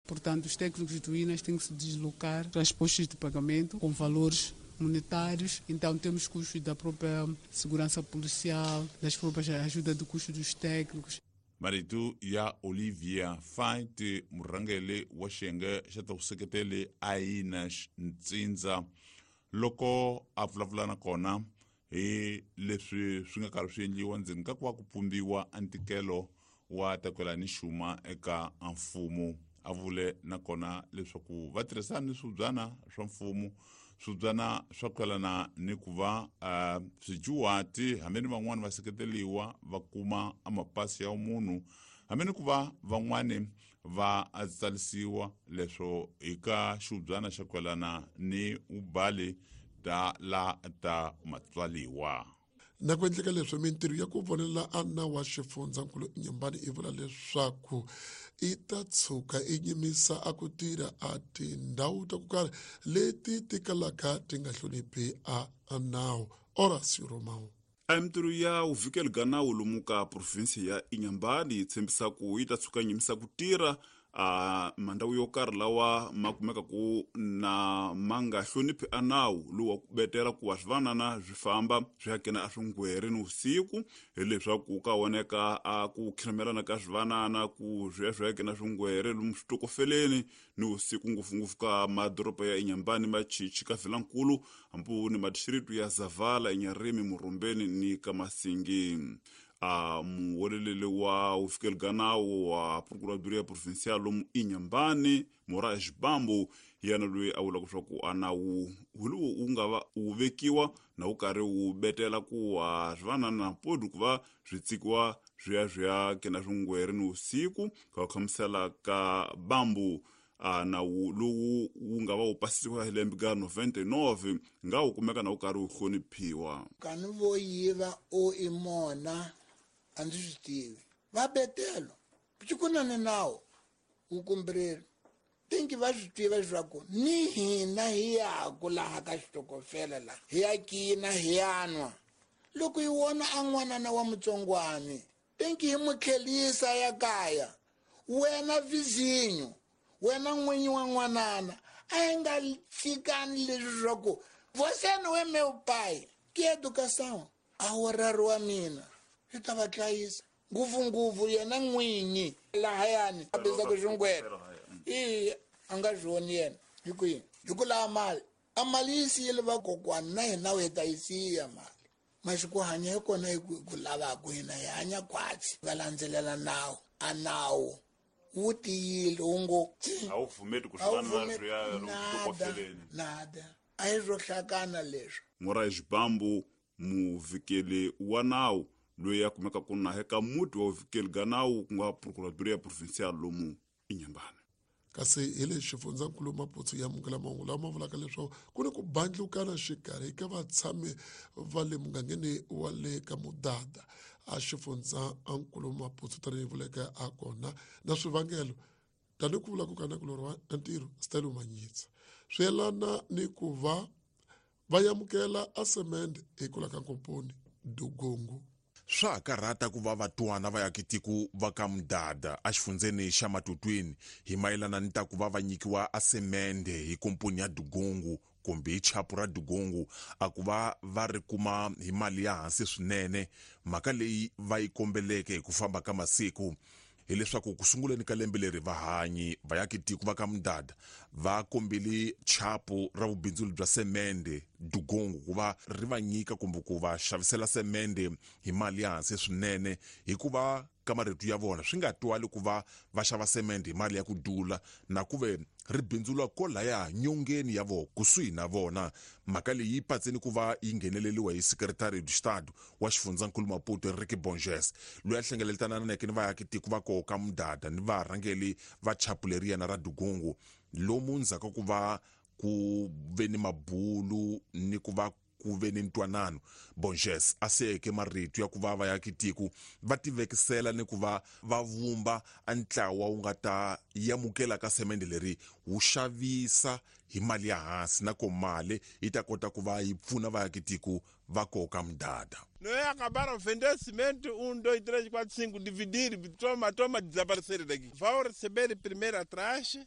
Portanto, os técnicos do INAS têm que se deslocar para as postas de pagamento com valores monetários. Então, temos custos da própria segurança policial, das próprias ajuda do custo dos técnicos. Marito ya Olivia Fait, murhangeri wa xiyenge xa ta vuseketeli a INAS Ntsindza, loko a vulavula na kona hi leswi swi nga karhi swi endliwa ndzeni ka ku va ku pumbiwa a ntikelo wa takwela ni xuma eka mfumo. A vule nakona leswaku va tirhisana ni swibyana swa mfumo, swibyana swa kwelana ni ku va swijuwati hambi ni van'wani va seketeriwa va kuma amapasi ya munhu, hambi ni ku va van'wani va tsarisiwa leswo eka xibyana xa kwelana ni ubali ta la ta matswaliwa. Na ku endleka leswi mintirho ya ku vonela a nawu wa xifundzankulu Nyambani i vula leswaku i ta tshuka i nyimisa a ku tirha a tindhawu ta ku karhi leti ti kalaka ti nga hloniphi a nawu. Horacio Romao. A mintirho ya vuvikeli bya nawu lomu ka provinsi ya Inhambane yi tshembisa ku yi ta tshuka nyimisa ku tirha a mandhawu yo karhi lawa ma kumekaku na ma nga hloniphi a nawu lowu wa ku betela ku wa swivanana swi famba swi ya kena a swingwere ni vusiku, hileswaku ka voneka a ku khiramelana ka swivanana ku swi ya swi ya kena swingwere lomu switokofeleni ni vusiku, ngopfungopfu ka madoroba ya Inhambane, Machichi, ka Vilankulu, hambi ni madistritu ya Zavala, Inharime, Murumbeni ni ka Masingi. A muweleleli wa vufikeli bya nawu wa Procuradoria Provincial lomu Inhambane, Moraes Bambo, hi yena loyi a vulaka leswaku a nawu hi lowu wu nga va wu vekiwa na wu karhi wu betela ku wa swivanana podi ku va swi tsikiwa swi ya swi ya kena swingwere ni vusiku. Ka ku hlamusela ka Bambo, a nawu lowu wu nga va wu pasisiwa hi lembe ka 99 nga wu kumeka na wu karhi wu hloniphiwa. Kani vo yiva o i mona a ndzi swi tivi va betelo ku na ni nawu wu kumbiriri tinki va swi tiva leswaku ni hina hi yaku laha ka xitokofela laha hi ya kina hi ya nwa loko hi vona a n'wanana wa mutsongwani tinki hi mu tlhelisa ya kaya. Wena vizinyo, wena n'winyi wa n'wanana, a hi nga tshikani leswi swa ku você não é meu pai, que educação a horário wa mina swi ta va hlayisa ngopfungopfu yena n'winyi lahayani a bizaku xingwere i a nga swi voni yena hi kwini hi ku lava mali a mali yi siyile vakokwana na hina hi ta yi siya mali masiku hanya hi kona hi ku lavaku hina hi hanya khwatsi va landzelela nawu a nawu wu tiyile wu ngo a wu pfumeli ku swivanana swi ya lomu nada a hi swo hlakana leswi. Moraes Bambo, muvikeli wa nawu loyi a kumekaka na eka muti wa vuvikeli bya nawu ku nga Procuradoria Provincial lomu Inhambane. Kasi hi le xifundzankulu Maputo ya amukela mahungu lawa ma vulaka leswaku ku ni ku bandlukana xikarhi ka vatshami va le mugangeni wa le ka Mudada a xifundzankulu Maputo tanihi vuleke a kona na swivangelo tanihi ku vula ku ka nakulorhi wa ntirho Stelo Manyitsa swi yelana ni ku va va amukela a semende hi kula ka nkomponi Dugungu. Swa ha karhata ku va vatwana va yakitiko va ka Mudada exifundzeni xa Matutwini hi mayelana ni ta ku va va nyikiwa a semende hi komponi ya Dugungu kumbe hi chapu ra Dugungu a ku va va ri kuma hi mali ya hansi swinene. Mhaka leyi va yi kombeleke hi ku famba ka masiku hileswaku ku sunguleni ka lembe leri vahanyi va yakitiko va ka Mudada va kombele chapu ra vubindzuli bya semende Dugungu ku va ri va nyika kumbe ku va xavisela semende hi mali ya hansi swinene, hikuva ka marito ya vona swi nga twali ku va va xava semende hi mali ya ku dula na ku ve ri bindzula kolaya nyongeni ya vona kusuhi na vona. Mhaka leyi yi patseni ku va yi ngheneleriwa hi Secretary de Estado wa xifundzankulu Maputo Enrique Bonges, loyi a hlengeletananeke ni vaakitiko va koho ka Mudada ni varhangeli va chapu leriyana ra Dugungu, lomu ndzhaku ku va ku ve ni mabulu ni ku va ku ve ni ntwanano. Bonges a siyeke marito ya ku va vaakitiko va tivekisela ni ku va va vumba a ntlawa wu nga ta amukela ka semende leri wu xavisa hi mali ya hansi na ko mali yi ta kota ku va yi pfuna vaakitiko va koka Mudada. Não é acabaram vender cimento, 1, 2, 3, 4, 5, dividir, toma, toma, desaparecer daqui. Vão receber primeiro atrás.